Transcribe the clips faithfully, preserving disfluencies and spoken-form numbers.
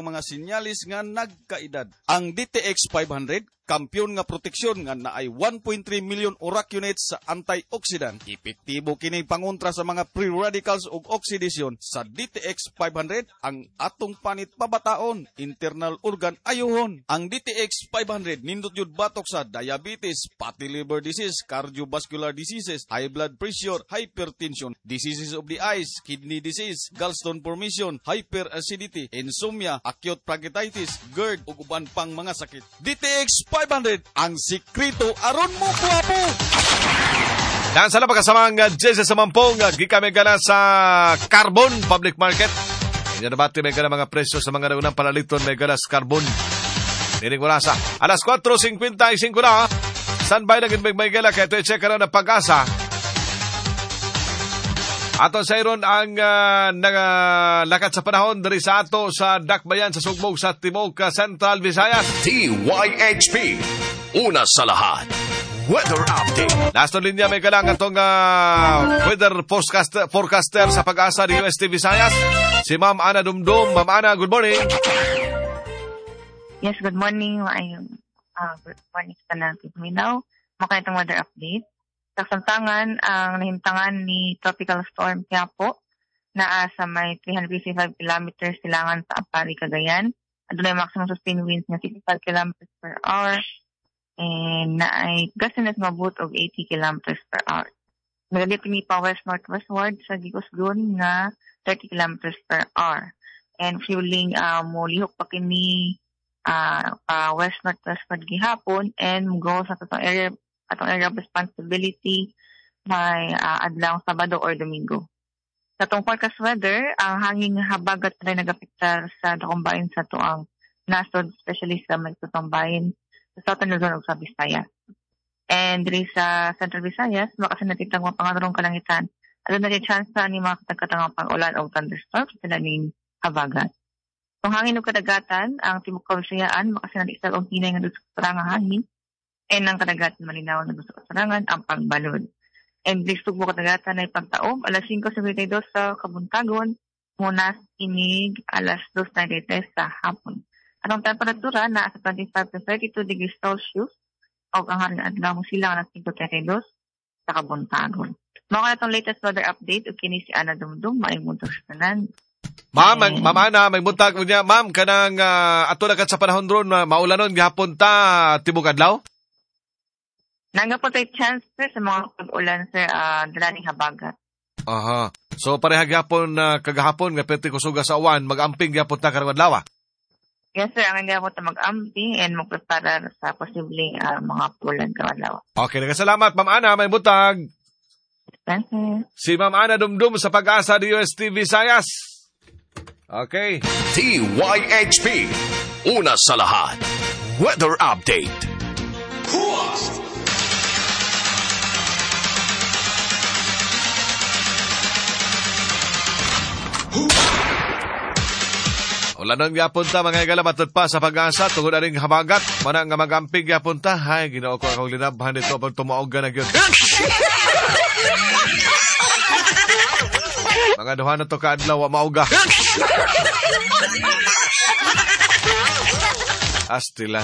mga sinyalis nga nagkaedad. Ang D T X five hundred, kampiyon nga proteksyon nga naay one point three million O R A C units sa antioxidant. Epektibo kini pangontra sa mga free radicals ug oxidation. Sa D T X five hundred, ang atong panit pabataon, internal organ ayuhon. Ang D T X five hundred nindot yun batok sa diabetes, fatty liver disease, cardiovascular diseases, high blood pressure, hypertension, diseases of the eyes, kidney disease, gallstone formation, hyperacidity, insomnia, acute pancreatitis, GERD ug uban pang mga sakit. D T X five hundred, ang sikreto aron mo guwapo. Nasa na pagkasamang Jesse Samampong, gikan may gana sa Carbon Public Market. Inyo nabati may gana mga presyo sa mga naunang panaliton may gana sa Carbon. Nining orasa. Alas kwatro singkwenta y singko na. Standby na gid may gala kay ito i-check karon ang Pag-asa. Ato sa iron ang uh, nagalakat sa panahon diri sa ato sa Dakbayan sa Sugbo sa Timog Central Visayas. T Y H P. Una sa lahat. Weather update. Nasa linya may galang atong uh, weather forecaster, forecaster sa Pag-asa ni U S T Visayas, si Ma'am Ana Dumdum. Ma'am Ana, good morning. Yes, good morning. Maayong uh, good morning sa tanan Mindanao. Maka itong weather update. Sa kasamtangan, ang nahimtangan ni Tropical Storm Quiapo naa sa may three hundred fifty-five kilometers silangan sa Aparri, Cagayan. Adunay maximum sustained winds nga sixty-five kilometers per hour and naay gustiness mabot og eighty kilometers per hour. Nagadit kini pa west northwestward sa Gikusgon nga thirty kilometers per hour. And fueling uh, mo lihok pa kini uh, pa west northwestward gihapon and go sa atong area atong area of responsibility may uh, adlaw Sabado or Domingo. Sa atong forecast weather, ang hangin habagat rin nagapiktar sa dakong bahin sa tuang nasod, especially sa may tutong bahin sa Southern Luzon ug sa Visayas. And diri sa Central Visayas, makasinatitang mga pangaturong kalangitan. Aduna rin chance ni mga katagkatang pag-ulan o thunderstorms sila ning habagat. Kung hangin ug kadagatan, ang tibok Kabisayaan makasinatitang og hinay nga dusok nga hangin and ang kadagatan malinaw na dusok sarangan ang pagbalod. And diri sa kadagatan ay pagtaob alas singko singkwenta y dos sa kabuntagon, munas inig alas dos treinta y tres sa hapon. Atong temperatura na sa twenty-five to thirty-two degrees Celsius o ang haring adlaw mo sila alas singko treinta y dos sa kabuntagon. Mao ka itong latest weather update ug kini si Ana Dumdum, maayong buntag sa tanan. Ma'am, Ma'am Ana, may buntag niya. Ma'am, kanang uh, ato na kat sa panahon ron, maulanon gihapon ta tibok adlaw? Nangga po tayo chance sir, sa mga pag-ulan sir, uh, dala ning habagat. Aha. So pareha gihapon uh, kagahapon nga pwede kusuga sa uwan, mag-amping gihapon ta karong adlaw. Yes sir, ang gihapon ta mag-amping and magpreparar sa posibleng uh, mga ulan karong adlaw. Okay, nagkasalamat Ma'am Ana, may buntag. Thank you. Si Ma'am Ana Dumdum sa Pag-asa D U S T Visayas. Okay. T Y H P. Una sa lahat. Weather update. Ulanon gyapon ta mga higala matud pa sa Pag-asa tungod aning habagat mana nga magamping gyapon ta. Hay Ginoo ko akong linabhan nito pag tumuog na gyud. Mga duha na to ka adlaw wa mauga. Astilan.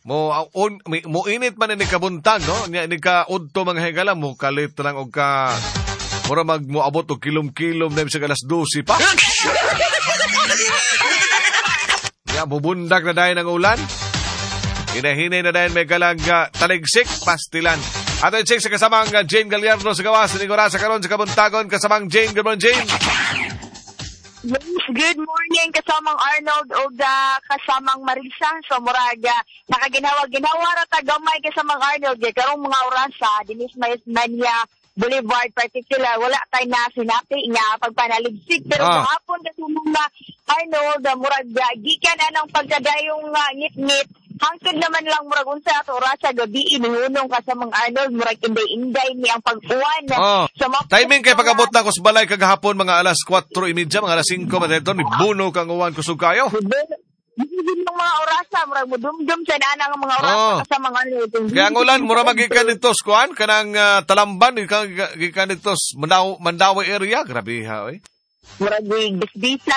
Mo on mo init man ni kabuntag no nya ni ka udto mga higala mo kalit lang og ka mura mag moabot og kilom-kilom na bisag alas dose pa. Ya bubundak na dayon ang ulan. Hinahinay na dayon may galang uh, taligsik pastilan. Ato i-check sa kasamang uh, Jane Gallardo sa gawas ni Gorasa karon sa kabuntagon kasamang Jane. Good morning, Jane. Yes, good morning kasamang Arnold og uh, kasamang Marisa. So muraga nakaginawa-ginawa ra ta gamay kasamang Arnold kay karong mga orasa dinis may Mania Boulevard particular wala tay na sinapi nga pagpanaligsik pero ah. Gahapon kasi mga Arnold murag gikan anang pagkadayong uh, ngit-ngit hangtod naman lang murag unsa ato orasa gabi inihunong ka sa mga Arnold murag inday-inday ni ang pag-uwan. Oh. So, timing kay pag-abot na ko sa balay kagahapon mga alas kwatro treinta mga alas singko madedon ni buno kang uwan kusog kayo. Yung mga orasa murag mudumdum sa nana ang mga orasa oh. Sa mga Arnold. Kaya ang ulan mura magikan nito kuan kanang uh, Talamban gikan gikan nito Mandaw Mandawi area grabe ha oy. Murag bisbisa.